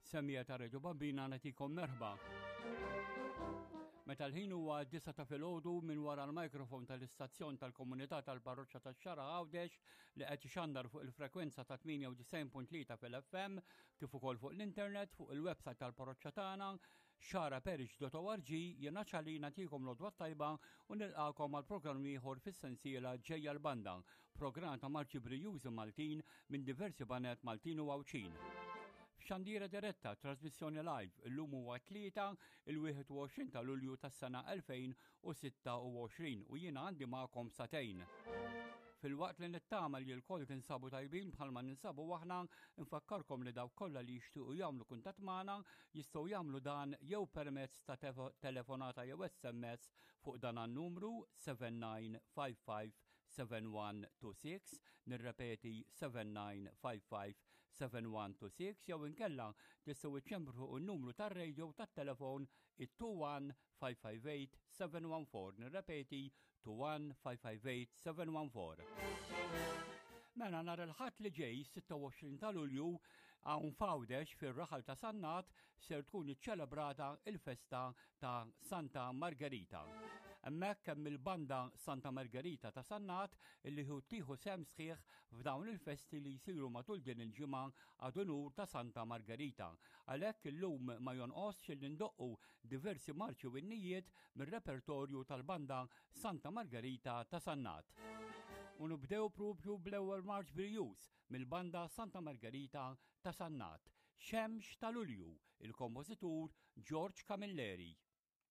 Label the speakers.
Speaker 1: Semija ta' Reġo Bambina nagħtikom merħba. Meta l-ħin huwa disa ta' filgħodu minn wara l-mikrofon tal-istazzjon tal-komunità tal-parroċċa tax-Xara Għawdex li qed ixandar fuq il-frekwenza ta' 98.3 fil-FM kif ukoll fuq l-internet fuq il-website tal-parroċċa tagħna xaraparish.org jiena ċali nagħtikom l-odwa tajba u nilqakom għal programm ieħor fis-sensiela ġejja l-banda Programm ta' marċi brijużi Maltin minn diversi banet Maltin u Għawdxin. F'xandira diretta, trasmissjoni live, illum huwa tlieta il-21 ta' Lulju tas-sena 2026 u jiena għandi magħkom satejn. Filwaqt li nittama li l-koll tinsabu tajbin bħalma ninsabu aħna, nfakkarkom li dawk kollha li jixtiequ jagħmlu kuntatt magħna jistgħu jagħmlu dan jew permezz ta' telefonata jew SMS fuq dan għan-numru 7955 7126, nirrepeti 7955 7126 jew inkella tistgħu iċċemplu fuq in-numru tar-radio tat-telefon it-21 558 714, nirrepeti 21 558 714. Mela nhar il-Ħadd li ġej 26 ta' Lulju hawn f'Għawdex fir-raħal ta' Sannat ser tkun iċċelebrata il-festa ta' Santa Margherita. Hemmhekk hemm il-banda Santa Margherita ta' Sannat illi tieħu sehem sħiħ f'dawn il-festi li jsiru matul din il-ġimgħa ad unur ta' Santa Margherita. Għalhekk illum ma jonqosx illi ndoqqu diversi marċi u innijiet mir-repertorju tal-banda Santa Margherita ta' Sannat. U nibdew propju bl-ewwel marċ brijuż mill-banda Santa Margherita ta' Sannat, Xemx ta' Lulju, il-kompożitur George Camilleri.